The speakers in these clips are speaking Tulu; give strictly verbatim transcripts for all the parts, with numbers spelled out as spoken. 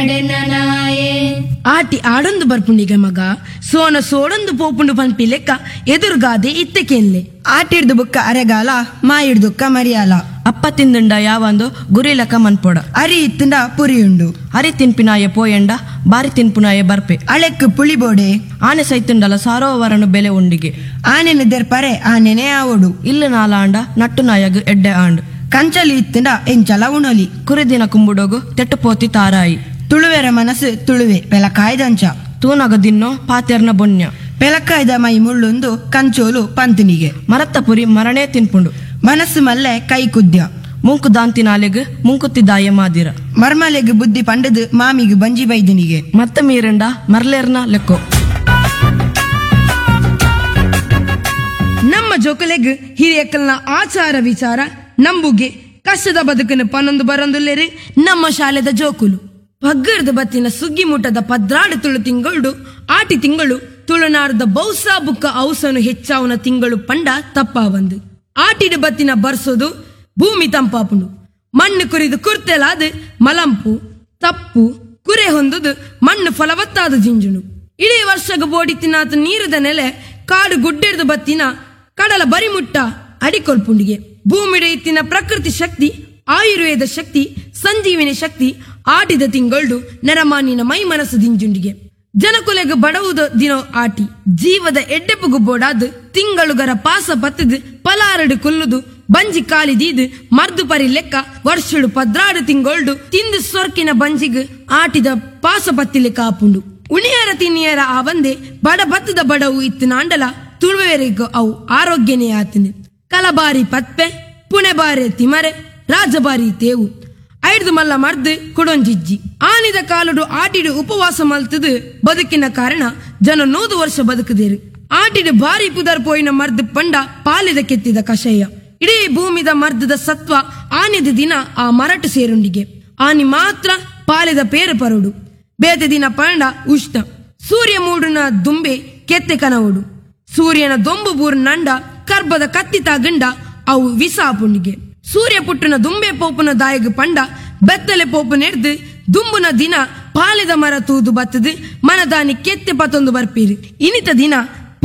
ನಡೆನನಾಯೆ. ಆಟಿ ಆಡೊಂದು ಬರ್ಪುಂಡಿಗೆ ಮಗ ಸೋನ ಸೋಡೊಂದು ಪೋಪುಂಡು ಪನ್ಪಿ ಲೆಕ್ಕ ಎದುರುಗಾದೆ ಇತ್ತೆ ಕೇನ್ಲೆ. ಆಟಿಡ್ದು ಬುಕ್ಕ ಅರೆಗಾಲ, ಮಾಯಿಡ್ದುಕ್ಕ ಮರಿಯಾಲ. ಅಪ್ಪ ತಿಂದುಂಡ ಯಾವಂದು ಗುರಿ ಲೆಕ್ಕ ಮನ್ಪೊಡ. ಅರಿ ಇತ್ತುಂಡ ಪುರಿಯುಂಡು. ಅರಿ ತಿನ್ಪಿನಾಯ ಪೋಯಂಡ ಬಾರಿ ತಿನ್ಪುನಾಯ ಬರ್ಪೆ. ಅಳೆಕ್ ಪುಳಿ ಬೋಡೆ. ಆನೆ ಸೈತುಂಡಲ ಸಾರೋವರನು ಬೆಲೆ ಉಂಡಿಗೆ. ಆನೆನು ದೆರ್ಪರೆ ಆನೆನೆ ಆವೊಡು. ಇಲ್ಲ ನಾಲಾಂಡ ನಟ್ಟು ನಾಯಗ್ ಎಡ್ಡೆ ಆಂಡ್. ಕಂಚಲಿ ಇತ್ತುಂಡ ಎಂಚಲ ಉಣಲಿ. ಕುರಿದಿನ ಕುಂಬುಡೋಗು ತೆಟ್ಟು ಪೋತಿ ತಾರಾಯಿ. ತುಳುವೆರ ಮನಸ್ಸು ತುಳುವೆ ಪೆಲಕಾಯ್ದಂಚ. ತೂನಗ ದಿನ್ನೋ ಪಾತೆರ್ನ ಬೊನ್ಯ. ಪೆಲಕಾಯ್ದ ಮೈ ಮುಳ್ಳುಂದು ಕಂಚೋಲು ಪಂತಿನಿಗೆ. ಮರತ್ತ ಪುರಿ ಮರಣೇ ತಿನ್ಪುಂಡು. ಮನಸ್ಸು ಮಲ್ಲೆ ಕೈ ಕುದ್ಯ. ಮುಂಕು ದಾಂತಿನಾಲೆಗ್ ಮುಂಕುತ್ತಿದಾಯ ಮಾದಿರ. ಮರ್ಮಲೆಗ್ ಬುದ್ಧಿ ಪಂಡದು ಮಾಮಿಗ್ ಬಂಜಿ ಬೈದನಿಗೆ. ಮತ್ತ ಮೀರಂಡ ಮರ್ಲೇರ್ನ ಲೆಕ್ಕೋ. ನಮ್ಮ ಜೋಕುಲೆಗ್ ಹಿರಿಯಕ್ಕಲ್ನ ಆಚಾರ ವಿಚಾರ ನಂಬುಗೆ ಕಷ್ಟದ ಬದುಕನ್ನು ಪನ್ನೊಂದು ಬರೊಂದುಲ್ಲೇರಿ ನಮ್ಮ ಶಾಲೆದ ಜೋಕುಲು. ಪಗ್ಗರ್ದ ಬತ್ತಿನ ಸುಗ್ಗಿ ಮುಟ್ಟದ ಪದ್ರಾಡು ತುಳು ತಿಂಗಳು ಆಟಿ ತಿಂಗಳು ತುಳುನಾಡದ ಬೌಸಾ ಬುಕ್ಕ ಔಸನು ಹೆಚ್ಚಾವನ ತಿಂಗಳು ಪಂಡ ತಪ್ಪಾವಂದು. ಆಟಿಡು ಬತ್ತಿನ ಬರ್ಸೋದು ಭೂಮಿ ತಂಪಾಪುಂಡು. ಮಣ್ಣು ಕುರಿದು ಕುರ್ತೆಲಾದ ಮಲಂಪು ತಪ್ಪು ಕುರೆ ಹೊಂದುದು ಮಣ್ಣು ಫಲವತ್ತಾದ ಜಿಂಜುನು. ಇಡೀ ವರ್ಷಗ ಬೋಡಿ ತಿನ್ನಾತ ನೀರದ ನೆಲೆ ಕಾಡು ಗುಡ್ಡೆರ್ದು ಬತ್ತಿನ ಕಡಲ ಬರಿಮುಟ್ಟ ಅಡಿಕೊಲ್ಪುಂಡಿಗೆ. ಭೂಮಿಡೆ ಇತ್ತಿನ ಪ್ರಕೃತಿ ಶಕ್ತಿ, ಆಯುರ್ವೇದ ಶಕ್ತಿ, ಸಂಜೀವಿನಿ ಶಕ್ತಿ ಆಟಿದ ತಿಂಗಳು ನರಮಾನಿನ ಮೈ ಮನಸ್ಸು ದಿಂಜುಂಡಿಗೆ. ಜನಕುಲೆಗ್ ಬಡವುದ ದಿನೋ ಆಟಿ ಜೀವದ ಎಡ್ಡೆಪುಗು ಬೋಡಾದ್ ತಿಂಗಳುಗರ ಪಾಸ ಪತ್ತದು ಪಲಾರಡು ಕುಲ್ಲುದು ಬಂಜಿ ಕಾಲಿ ದೀದು ಮರ್ದು ಪರಿ ಲೆಕ್ಕ ವರ್ಷಡು ಪದ್ರಾಡು ತಿಂಗೊಳ್ಡು ತಿಂದು ಸೊರ್ಕಿನ ಬಂಜಿಗ್ ಆಟಿದ ಪಾಸ ಪತ್ತಿ ಲೆಕ್ಕ ಆಪುಂಡು. ಉಣಿಯರ ತಿನ್ನಿಯರ ಆವಂದೆ ಬಡ ಬತ್ತದ ಬಡವು ಇತ್ತು ನಾಂಡಲ ತುಳುವೆರೆಗ್ ಅವು ಆರೋಗ್ಯನೇ ಆತಿನಿ. ಕಲಬಾರಿ ಪತ್ಪೆ, ಪುಣೆಬಾರೆ ತಿಮರೆ, ರಾಜಬಾರಿ ತೇವು ಐಡ್ದು ಮಲ್ಲ ಮರ್ದು ಕುಡೊಂಜಿಜ್ಜಿ. ಆನಿದ ಕಾಲುಡು ಆಟಿಡು ಉಪವಾಸ ಮಲ್ತದು ಬದುಕಿನ ಕಾರಣ ಜನ ನೂದು ವರ್ಷ ಬದುಕುದೇರು. ಆಟಿಡು ಭಾರಿ ಪುದರ್ ಪೋಯಿನ ಮರ್ದು ಪಂಡ ಪಾಲಿದ ಕೆತ್ತಿದ ಕಷಾಯ. ಇಡೀ ಭೂಮಿದ ಮರ್ದದ ಸತ್ವ ಆನಿದ ದಿನ ಆ ಮರಟು ಸೇರುಂಡಿಗೆ. ಆನಿ ಮಾತ್ರ ಪಾಲಿದ ಪೇರು ಪರುಡು. ಬೇತೆ ದಿನ ಪಂಡ ಉಷ್ಣ ಸೂರ್ಯ ಮೂಡುನ ದುಂಬೆ ಕೆತ್ತೆ ಕನವುಡು. ಸೂರ್ಯನ ದೊಂಬು ಬೂರ್ ನಂಡ ಕರ್ಬದ ಕತ್ತಿ ತಾಗಂಡ ಅವು ವಿಸ ಆಪುಂಡಿಗೆ. ಸೂರ್ಯ ಪುಟ್ಟನ ದುಂಬೆ ಪೋಪುನ ದಾಯಗ್ ಪಂಡ ಬೆತ್ತಲೆ ಪೋಪು ನೆಡ್ದು ದುಂಬುನ ದಿನ ಪಾಲೆದ ಮರ ತೂದು ಬತ್ತದು ಮನದಾನಿ ಕೆತ್ತೆ ಪತ್ತೊಂದು ಬರ್ಪೀರಿ. ಇನಿತ ದಿನ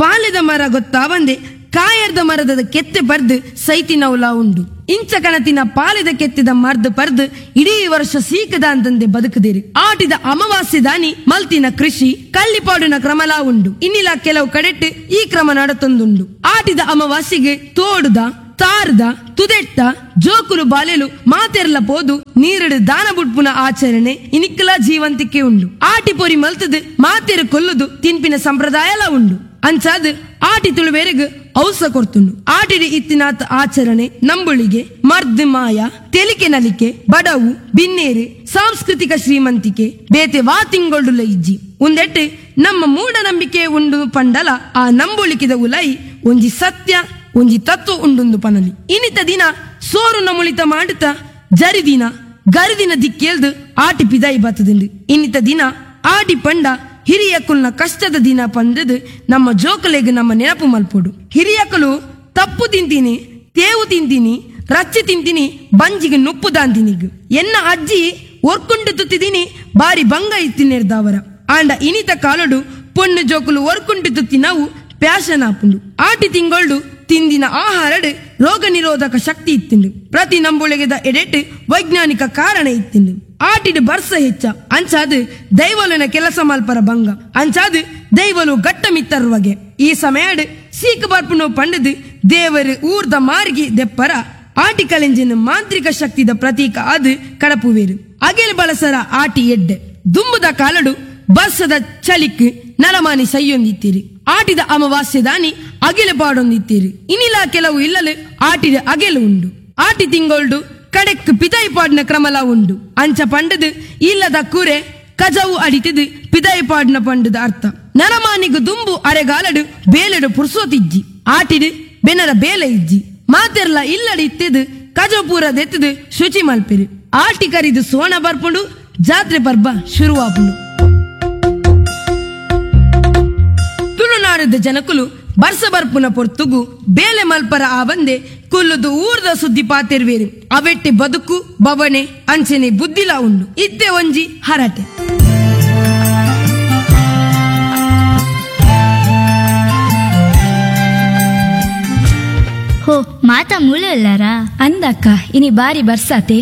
ಪಾಲೆದ ಮರ ಗೊತ್ತಾವಂದೆ ಕಾಯರ್ದ ಮರದ ಕೆತ್ತೆ ಪರ್ದು ಸೈತಿನವುಲ ಉಂಡು. ಇಂಚ ಕಣತಿನ ಪಾಲೆದ ಕೆತ್ತಿದ ಮರ್ದು ಪರ್ದು ಇಡೀ ವರ್ಷ ಸೀಕದ ಅಂತಂದೆ ಬದುಕುದಿರಿ. ಆಟಿದ ಅಮಾವಾಸ್ಯೆ ದಾನಿ ಮಲ್ತಿನ ಕೃಷಿ ಕಲ್ಲಿಪಾಡಿನ ಕ್ರಮಲಾ ಉಂಡು. ಇನ್ನಿಲ ಕೆಲವು ಕಡೆಟ್ಟು ಈ ಕ್ರಮ ನಡತೊಂದುಂಡು. ಆಟಿದ ಅಮಾವಾಸ್ಯೆಗೆ ತೋಡುದ ತಾರ್ದ ತುದೆಟ್ಟ ಜೋಕುಲು ಬಾಲೆಲು ಮಾತೆರ್ಲ ಪೋದು ನೀರಡು ದಾನ ಬುಡ್ಪುನ ಆಚರಣೆ ಇನಿಕ್ಕಲ ಜೀವಂತಿಕೆ ಉಂಡು. ಆಟಿ ಪೊರಿ ಮಲ್ತದು ಮಾತೆರು ಕೊಲ್ಲುದು ತಿನ್ಪಿನ ಸಂಪ್ರದಾಯಲ ಉಂಡು. ಅಂಚಾದ್ ಆಟಿ ತುಳುವೆರೆಗ್ ಔಸ ಕೊರ್ತುಂಡು. ಆಟಿಡಿ ಇತ್ತಿನಾತ್ ಆಚರಣೆ ನಂಬುಳಿಗೆ ಮರ್ದ್ ಮಾಯ ತೆಲಿಕೆ ನಲಿಕೆ ಬಡವು ಬಿನ್ನೇರು ಸಾಂಸ್ಕೃತಿಕ ಶ್ರೀಮಂತಿಕೆ ಬೇತೆ ವಾ ತಿಂಗೊಳ್ಳುಲ ಇಜ್ಜಿ. ಉಂದೆಟ್ಟು ನಮ್ಮ ಮೂಢನಂಬಿಕೆ ಉಂಡು ಪಂಡಲ ಆ ನಂಬುಳಿಕೆದ ಉಲೈ ಒಂಜಿ ಸತ್ಯ ಒಂಜಿ ತತ್ವ ಉಂಡುಂದು ಪನಲಿ. ಇನಿತ ದಿನ ಸೋರು ನಮುಳಿತ ಮಾಡುತ್ತ ಜರಿದಿನ ಗರಿದಿನ ದಿಕ್ಕೇಲ್ದು ಆಟಿ ಪಿದಾಯಿ ಬತ್ತದಿಂಡು. ಇನ್ನಿತ ದಿನ ಆಟಿ ಪಂಡ ಹಿರಿಯಕುಲ್ನ ಕಷ್ಟದ ದಿನ ಪಂದದು ನಮ್ಮ ಜೋಕುಲೆಗ್ ನಮ್ಮ ನೆನಪು ಮಲ್ಪೊಡು. ಹಿರಿಯಕುಲು ತಪ್ಪು ತಿಂತೀನಿ, ತೇವು ತಿಂತೀನಿ, ರಚ್ಚಿ ತಿಂತೀನಿ, ಬಂಜಿಗೆ ನುಪ್ಪು ದಾಂತಿನಿಗ್. ಎನ್ನ ಅಜ್ಜಿ ಒರ್ಕುಂಡು ತುತ್ತಿದೀನಿ ಬಾರಿ ಬಂಗ ಇತ್ತಿನೆರ್ದವರ. ಆಂಡ ಇನಿತ ಕಾಲಡು ಪೊಣ್ಣು ಜೋಕುಲು ಒರ್ಕುಂಟು ತುತ್ತಿ ನಾವು ಪ್ಯಾಶನ್ ಆಪುಂಡು. ಆಟಿ ತಿಂಗೊಳ್ಡು ತಿಂದಿನ ಆಹಾರಡು ರೋಗ ನಿರೋಧಕ ಶಕ್ತಿ ಇತ್ತಿಂಡು. ಪ್ರತಿ ನಂಬುಳಿಗೆದ ಎಡೆಟ್ ವೈಜ್ಞಾನಿಕ ಕಾರಣ ಇತ್ತಿಂಡು. ಆಟಿಡು ಬರ್ಸ ಹೆಚ್ಚ ಅಂಚಾದು ದೈವಲುನ ಕೆಲಸ ಮಲ್ಪರ ಬಂಗ ಅಂಚಾದು ದೈವಲು ಗಟ್ಟ ಮಿತ್ತರ್ವಗೆ. ಈ ಸಮಯಡ್ ಸೀಕ ಬರ್ಪುನು ಪಂಡದು ದೇವರು ಊರ್ದ ಮಾರ್ಗಿ ದೆಪ್ಪರ ಆಟಿ ಕಲೆಂಜಿನ ಮಾಂತ್ರಿಕ ಶಕ್ತಿದ ಪ್ರತೀಕ ಅದು ಕಡಪುವೇರು. ಅಗೆಲ್ ಬಳಸರ ಆಟಿ ಎಡ್ಡೆ ದುಂಬುದ ಕಾಲಡು ಬರ್ಸದ ಚಳಿಕ್ ನರಮಾನಿ ಸೈಯೊಂದಿತ್ತೀರಿ. ಆಟಿದ ಅಮಾವಾಸ್ಯೆ ದಾನಿ ಅಗೆಲು ಪಾಡೊಂದಿತ್ತೀರಿ. ಇನಿಲ ಕೆಲವು ಇಲ್ಲಲು ಆಟಿದ ಅಗೆಲು ಉಂಡು. ಆಟಿ ತಿಂಗೊಳ್ಡು ಕಡೆಕ್ ಪಿದಾಯಿ ಪಾಡಿನ ಕ್ರಮಲ ಉಂಡು. ಅಂಚ ಪಂಡದು ಇಲ್ಲದ ಕುರೆ ಕಜವು ಅಡಿತಿದು ಪಿದಾಯಿ ಪಾಡಿನ ಪಂಡದ ಅರ್ಥ. ನರಮಾನಿಗು ದುಂಬು ಅರೆಗಾಲಡು ಬೇಲೆಡು ಪುರ್ಸೋತಿಜ್ಜಿ. ಆಟಿಡು ಬೆನರ ಬೇಲೆ ಇಜ್ಜಿ. ಮಾತೆರ್ಲ ಇಲ್ಲಡಿ ಇತ್ತಿದು ಕಜವು ಪೂರ ದೆತ್ತದು ಶುಚಿ ಮಲ್ಪಿರಿ. ಆಟಿ ಕರಿದು ಸೋಣ ಬರ್ಪುಂಡು, ಜಾತ್ರೆ ಪರ್ಬ ಶುರುವಾಪುಂಡು. ತುಳುನಾಡದ ಜನಕುಲು ಬರ್ಸ ಬರ್ಪುನ ಪೊರ್ತುಗು ಬೇಲೆ ಮಲ್ಪರ ಆವಂದೆ ಕುಲ್ಲುದು ಊರ್ದ ಸುದ್ದಿ ಪಾತಿರ್ವೇರು. ಅವೆಟ್ಟಿ ಬದುಕು ಬವಣೆ ಅಂಚನೆ ಬುದ್ಧಿಲ ಉಂಡು. ಇತ್ತೆ ಒಂಜಿ ಹರಟೆ. ಹೋ ಮಾತಾ ಮೂಲೆ ಇಲ್ಲಾರಾ? ಅಂದಕ್ಕ, ಇನಿ ಬಾರಿ ಬರ್ಸಾತೆ.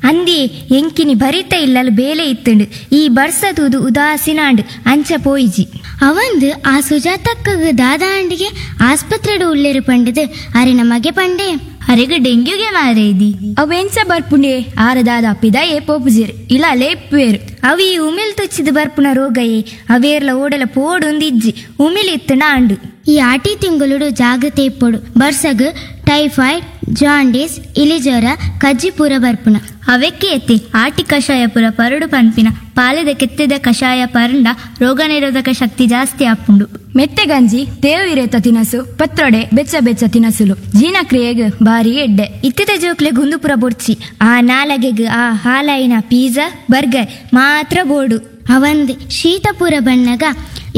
ಅಂದಿ ಎಂಕಿನಿ ಭರಿತ ಇಲ್ಲಲ್ ಬೇಲೆ ಇತ್ತುಂಡು. ಈ ಬರ್ಸತೂದು ಉದಾಸಿನಾಂಡ್ ಅಂಚ ಪೋಯಿಜಿ. ಅವಂದು ಆ ಸುಜಾತಕ್ಕಗ ದಾದಾಂಡಿಗೆ ಆಸ್ಪತ್ರೆಡು ಉಲ್ಲೇರು ಪಂಡದು ಅರಿನ ಮಗೆ ಪಂಡೆ. ಅರೆಗ್ ಡೆಂಗ್ಯೂಗೆ ಮಾರೇದಿ. ಅವೆಂಚ ಬರ್ಪುಂಡೆ? ಆರದಾದ ಪಿದಾಯೇ ಪೋಪುಜಿರ್ ಇಲ್ಲ ಲೇಪುವೇರು. ಅವಿ ಉಮಿಲ್ ತುಚ್ಚಿದ ಬರ್ಪುನ ರೋಗಯೇ. ಅವೇರ್ಲ ಓಡಲ ಪೋಡುಂದಿಜ್ಜಿ, ಉಮಿಲ್ ಇತ್ತುಂಡ ಆಂಡು. ಈ ಆಟಿ ತಿಂಗಳುಡು ಜಾಗ್ರತೆ ಇಪ್ಪೊಡು. ಬರ್ಸಗ್ ಟೈಫಾಯ್ಡ್, ಜಾಂಡೀಸ್, ಇಲಿಜ್ವರ, ಕಜ್ಜಿಪೂರ ಬರ್ಪುನ. ಅವೆಕ್ಕೆ ಎತ್ತಿ ಆಟಿ ಕಷಾಯ ಪುರ ಪರಡು ಪನ್ಪಿನ. ಪಾಲೆದ ಕೆತ್ತಿದ ಕಷಾಯ ಪರಂಡ ರೋಗ ನಿರೋಧಕ ಶಕ್ತಿ ಜಾಸ್ತಿ ಆಪುಂಡು. ಮೆತ್ತೆ ಗಂಜಿ, ತೇವು ಇರೇತ ತಿನಸು, ಪತ್ರೊಡೆ, ಬೆಚ್ಚ ಬೆಚ್ಚ ತಿನಸುಲು ಜೀರ್ಣಕ್ರಿಯೆಗ್ ಬಾರಿ ಎಡ್ಡೆ. ಇತ್ತಿದ ಜೋಕ್ಲೆ ಗುಂದುಪುರ ಬೊಡ್ಚಿ. ಆ ನಾಲಗೆಗ್ ಆ ಹಾಲಾಯಿನ ಪಿಜ್ಜಾ ಬರ್ಗರ್ ಮಾತ್ರ ಬೋಡು. ಅವಂದ್ ಶೀತಪುರ ಬಣ್ಣಗ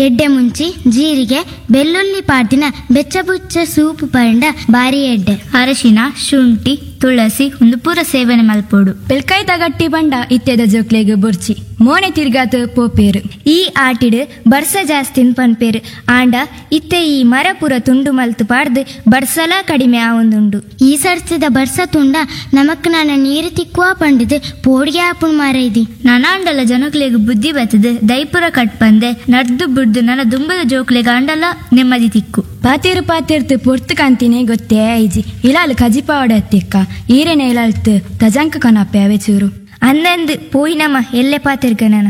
ಎಡ್ಡೆ ಮುಂಚಿ, ಜೀರಿಗೆ, ಬೆಳ್ಳುಳ್ಳಿ ಪಾಡ್ದಿನ ಬೆಚ್ಚ ಬುಚ್ಚ ಸೂಪ್ ಪರಂಡ ಬಾರಿ ಎಡ್ಡೆ. ಅರಶಿನ, ಶುಂಠಿ, ತುಳಸಿ ಒಂದು ಪೂರ ಸೇವನೆ ಮಲ್ಪೋಡು. ಪೆಲ್ಕಾಯಿ ತಗಟ್ಟಿ ಬಂಡ ಇತ್ತೆದ ಜೋಕ್ಲೆಗ್ ಬೊರ್ಚಿ, ಮೋನೆ ತಿರ್ಗಾತ ಪೋಪೇರು. ಈ ಆಟಿಡ್ ಬರ್ಸ ಜಾಸ್ತಿನ್ ಪನ್ಪೇರು. ಆಂಡ ಇತ್ತೆ ಈ ಮರ ಪೂರ ತುಂಡು ಮಲ್ತು ಪಾಡ್ದು ಬರ್ಸಲ ಕಡಿಮೆ ಆವೊಂದುಂಡು. ಈ ಸರ್ತಿದ ಬರ್ಸ ತುಂಡ ನಮಕ್ ನಾನ ನೀರು ತಿಕ್ಕುವ ಪಂಡದು ಪೋಡಿಗೆ ಆಪುಣ್ ಮಾರೈದಿ. ನನಾಂಡಲ ಜನಕ್ಲೆಗ್ ಬುದ್ಧಿ ಬತ್ತದು ದೈಪುರ ಕಟ್ಪಂದೆ ನಡ್ದು ಬುಡ್ದು ನನ ದುಂಬದ ಜೋಕ್ಲೆಗ್ ಆಂಡಲ ನೆಮ್ಮದಿ ತಿಕ್ಕು. ಪಾತೇರು ಪಾತೇರ್ತು ಪೊರ್ತು ಕಾಂತಿನೇ ಗೊತ್ತೇ ಐಜಿ. ಇಲಾಲ್ ಕಜಿಪಾವಡ ಅತ್ತಿಕ್ಕ ಈರೆನೆ ಇಲಾಲ್ತು ತಜಂಕ ಕನಪೆ ಅವೆ ಚೂರು. ಅಂದಂದು ಪೋಯಿನಮ್ಮ ಎಲ್ಲೆ ಪಾತಿರ್ಗ ನಾನ.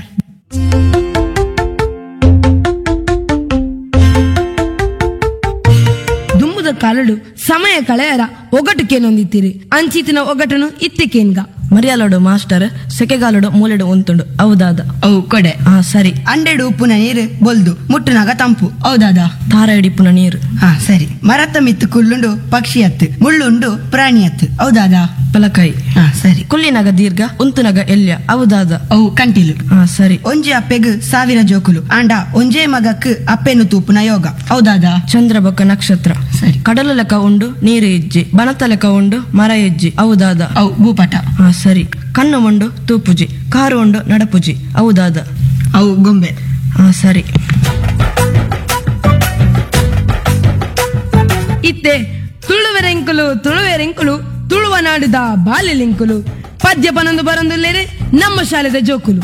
ದುಂಬುದ ಕಾಲಡು ಸಮಯ ಕಳೆಯರ ಒಗಟು ಕೇನೊಂದಿತ್ತೀರಿ. ಅಂಚಿತಿನ ಒಗಟನು ಇತ್ತಿಕೇನ್ಗ. ಮರಿಯಾಲೋಡು ಮಾಸ್ಟರ್ ಸೆಕೆಗಾಲೋಡು ಮೂಲೆಡು ಉಂತುಂಡು, ಹೌದಾದ? ಅವು ಕೊಡೆ. ಹಾ ಸರಿ. ಅಂಡೆಡು ಉಪ್ಪುನ ನೀರು ಬೊಲ್ದು, ಮುಟ್ಟುನಾಗ ತಂಪು, ಹೌದಾದ? ತಾರ ಹಿಡಿಪುನ ನೀರು. ಹಾ ಸರಿ. ಮರತ್ತ ಮಿತ್ತು ಕುಲ್ಲುಂಡು ಪಕ್ಷಿ ಅತ್ತು, ಮುಳ್ಳುಂಡು ಪ್ರಾಣಿ ಅತ್ತು, ಹೌದಾದ? ಪಲಕಾಯಿ. ಹಾ ಸರಿ. ಕುಲ್ಲಿನಾಗ ದೀರ್ಘ, ಉಂತುನಾಗ ಎಲ್ಯ, ಹೌದಾದ? ಅವು ಕಂಟಿಲು. ಹಾ ಸರಿ. ಒಂಜಿ ಅಪ್ಪೆಗ್ ಸಾವಿರ ಜೋಕುಲು, ಆಂಡ ಒಂಜೇ ಮಗಕ್ ಅಪ್ಪೆನು ತೂಪುನ ಯೋಗ, ಹೌದಾದ? ಚಂದ್ರ ಬೊಕ್ಕ ನಕ್ಷತ್ರ. ಸರಿ. ಕಡಲು ಲೆಕ್ಕ ಉಂಡು ನೀರು ಇಜ್ಜಿ, ಬನತ ಲೆಕ್ಕ ಉಂಡು ಮರ ಇಜ್ಜಿ, ಹೌದಾದ? ಅವು ಭೂಪಟ. ಹಾ ಸರಿ. ಕಣ್ಣು ಉಂಡು ತೂಪುಜಿ, ಕಾರು ಉಂಡು ನಡಪುಜಿ, ಹೌದಾದ? ಅವು ಗೊಂಬೆ. ಹಾ ಸರಿ. ಇತ್ತೆ ತುಳುವೆರೆಂಕುಲು ತುಳುವೆರೆಂಕುಲು ತುಳುವ ನಾಡುದ ಬಾಲೆಲಿಂಕುಲು ಪದ್ಯ ಪನೊಂದು ಬರೊಂದುಲ್ಲೇರೆ ನಮ್ಮ ಶಾಲೆದ ಜೋಕುಲು.